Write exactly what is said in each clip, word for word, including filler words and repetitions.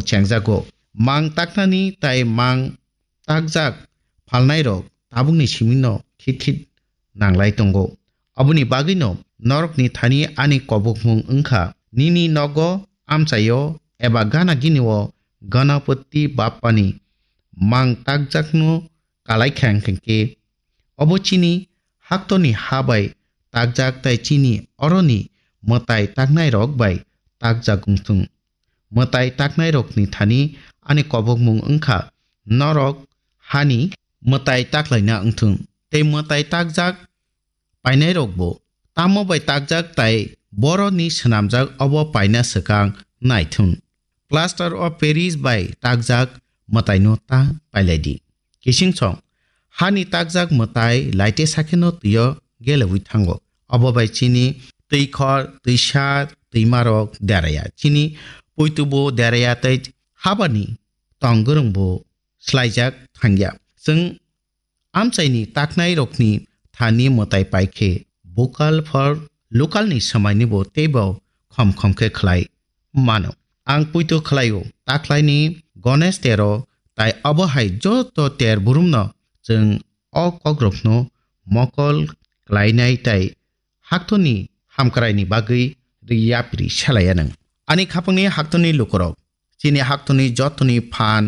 chengjago. Mang taknani tai mang takjak phalnairok tabukni simino khit khit nanglai tongo. Aboni bagwino norokni thani ani kobokmung wngkha, nini nogo, amchaio eba gana ginio Ganapati Bappani mang takjakno kalai kha hwnkhe, obo chini haktorni ha bai takjak tai chini oroni mwtai taknairok bai takjak wngthung. Mwtai taknairokni thani ani kobokmung wngkha norok hani mwtai taklaina wngthung. Tei mwtai takjak painairokbo tamo bai takjak tai boroni swnamjak obo paina swkang naithun. Plaster of Paris bai takjak mwtaino ta pailai di. Kising song, hani takjak mwtai laite sakheno twio gelewi thango. Obo bai chini twikhor, twisa, twimarok deraya. Chini puitubo deraya tei habani tong gwrwngbo slaijak thangya. Chwng amchaini taknairokni thani mwtai paikhe vocal for local ni swmainibo teibo khom khom khe khlai mano. Ang puito khlaio, taklaini Ganesh tero tai obo hai joto ter burumno chwng o kokrokno mokol klainai tai haktorni hamkraini bagwi yapri selaiya nwng. Ani khapangni haktorni lukurok, chini haktorni jotoni phan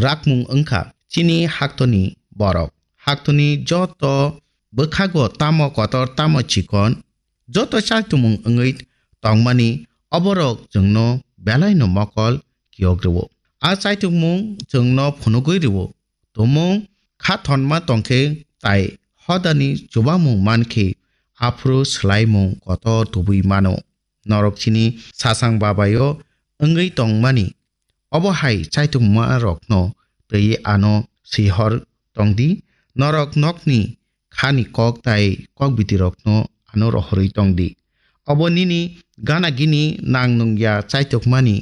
rakmung wngkha chini haktorni borok. Haktorni joto bwkhago tamo kotor tamo chikon, joto chaitumung wngwi tongmani oborok chwngno belaino mokol kiyok rwo. A chaitumung chwngno phunugwi rwo. Tumung kha thonma tongkhe tai hodani chubamung mankhe aphuru swlaimung kotor tubui mano. Norok chini sasang babaio wngwi tongmani obo hai chaitukmarokno twi ano swihor tongdi, norok nokni khani kok tai kokbitirokno ano rohorwi tongdi. Obo nini gana gini nang nungya chaitukmani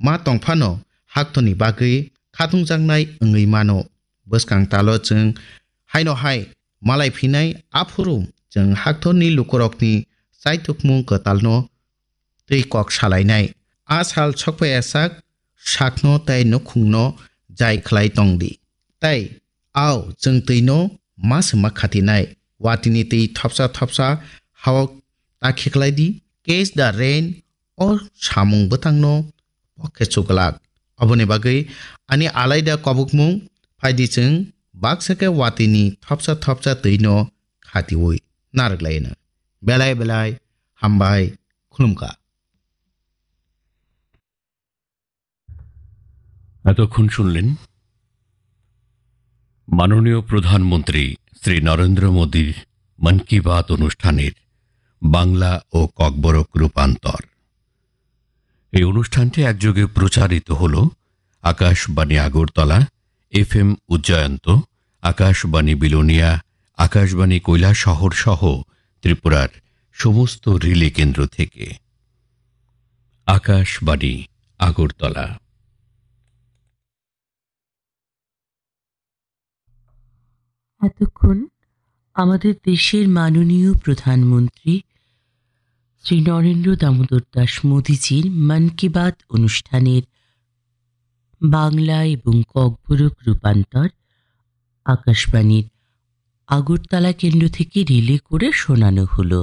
ma tongphano haktorni bagwi khatungjaknai wngwi mano. Bwskang talo chwng haino hai malai phinai, aphuru chwng haktorni lukurokni chaitukmung kwtalno tei kok salainai. A sal sokpaiyasak sakno tei nukhungno jai khlai tongdi. Tei ao chwng twino ma swma khatinai. Watini twi thopsa thopsa hao ta khiklai di. Catch the rain o samung bwtangno pokhe chuglak. Oboni bagwi ani alaida kobokmung phaidi chwng baksa khe watini thopsa thopsa twino khatiwi narwk laino. Belai belai hambai khulumkha. এতক্ষণ শুনলেন মাননীয় প্রধানমন্ত্রী শ্রী নরেন্দ্র মোদীর মন কি বাত অনুষ্ঠানের বাংলা ও ককবরক রূপান্তর। এই অনুষ্ঠানটি একযোগে প্রচারিত হল আকাশবাণী আগরতলা, এফএম উজ্জয়ন্ত, আকাশবাণী বিলোনিয়া, আকাশবাণী কৈলাসহর সহ ত্রিপুরার সমস্ত রিলে কেন্দ্র থেকে। আকাশবাণী আগরতলা। এতক্ষণ আমাদের দেশের মাননীয় প্রধানমন্ত্রী শ্রী নরেন্দ্র দামোদর দাস মোদীজির মন কি বাত অনুষ্ঠানের বাংলা এবং ককবরক রূপান্তর আকাশবাণীর আগরতলা কেন্দ্র থেকে রিলে করে শোনানো হলো।